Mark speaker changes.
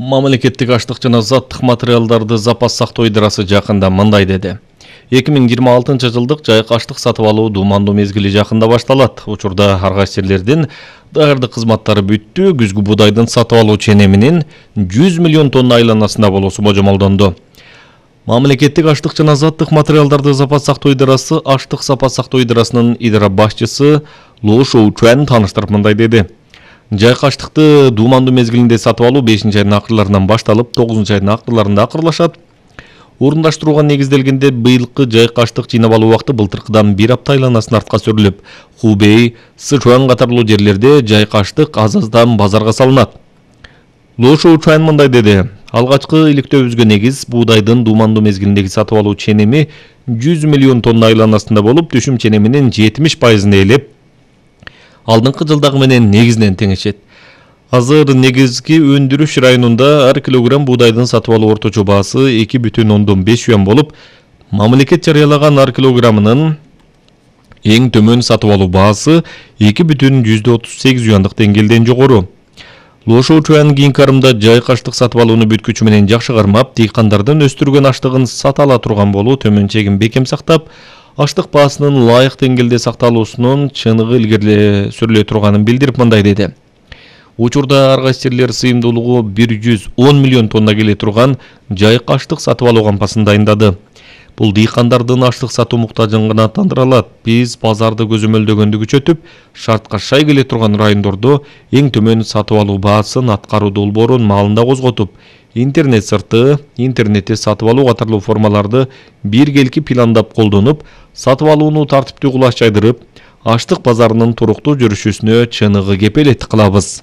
Speaker 1: Мамлекеттик аштык жана заттык материалдарды запас сактоо идарасы жакында мындай деди. 2026 жылдык жайык аштык сатып алуу дуумандуу мезгили жакында башталат. Учурда ар кайсы жерлердин даярдык кызматтары бүттү. Күзгү буудайдын сатып алуу ченеминин 100 миллион тонна айланасында болуусу божомолдонду. Мамлекеттик аштык жана заттык материалдарды запас сактоо идарасы аштык запас сактоо идарасынын идара башчысы Лу Шоучуан таныштырып мындай деди. Жайык аштыкты дуумандуу мезгилинде сатып алуу 5-айдын акырларынан башталып 9-айдын акырларында акырлашат. Орундаштырууга негизделгенде быйылкы жайык аштык жыйнап алуу убакыты былтыркыдан 1 апта айланасын артка сүрүлүп, Хубей, Сычуан катарлуу жерлерде жайык аштык аз-аздан базарга салынат. Лу Шоучуан мындай деди. Алгачкы иликтөөбүзгө негиз буудайдын дуумандуу мезгилиндеги сатып алуу ченеми 100 миллион тонна айланасында болуп, түшүм ченеминин 70%-ын ээлеп, алдыңкы жылдагы менен негизинен теңешет. Азыр негизги өндүрүш районунда ар килограмм буудайдын сатып алуу орточо баасы 2,5 юан болуп, мамлекет жарыялаган ар килограммынын эң төмөн сатып алуу баасы 2,38 юандык деңгээлден жогору. Лу Шоучуан кийинки арымда жайык аштык сатып алууну бүткүчү менен жакшы кармап, дыйкандардын өстүргөн аштыгын сата ала турган болуу төмөн чегин бекем сактап, аштык баасынын ылайык деңгээлде сакталуусунун чыныгы илгери сүрүлө турганын билдирип мындай деди. Учурда ар кайсы жерлер сыйымдуулугу 110 миллион тонна келе турган жайык аштык сатып алуу кампасын дайындады. Бул дыйкандардын аштык сатуу муктажын гана тандыра алат. Биз базарды көзөмөлдөгөндү күчөтүп, шартка шай келе турган райондордо эң төмөн сатып алуу баасын аткаруу долбоорун маалында козготуп, интернет сырты, интернетте сатып алуу катарлуу формаларды биргелки пландап колдонуп, сатып алууну тартиптүү кулаш жайдырып, аштык базарынын туруктуу жүрүшүнө чыныгы кепелеттик кылабыз.